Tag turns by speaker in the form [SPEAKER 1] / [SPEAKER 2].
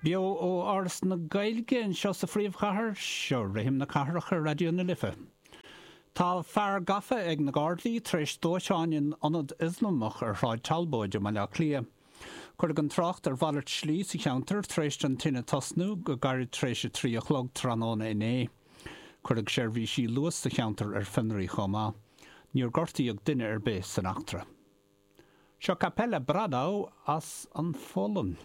[SPEAKER 1] Beo ó Áras na Gaeilge anseo sa phríomhchathair, seo Rithim na Cathrach ar Raidió na Life. Tá fear gafa ag na Gardaí tar éis dóiteáin in ionad Ioslamach ar Shráid Talbóid i mBaile Átha Cliath. Cuireadh an trácht ar mhalairt slí sa cheantar tar éis don tine tosnú go gairid tar éis 3 a chlog tráthnóna inné. Cuireadh seirbhísí Luas sa cheantar ar fionraí chomh maith. Níor gortaíodh duine ar bith san eachtra. Seo Kapelle Bradau as an Pholainn.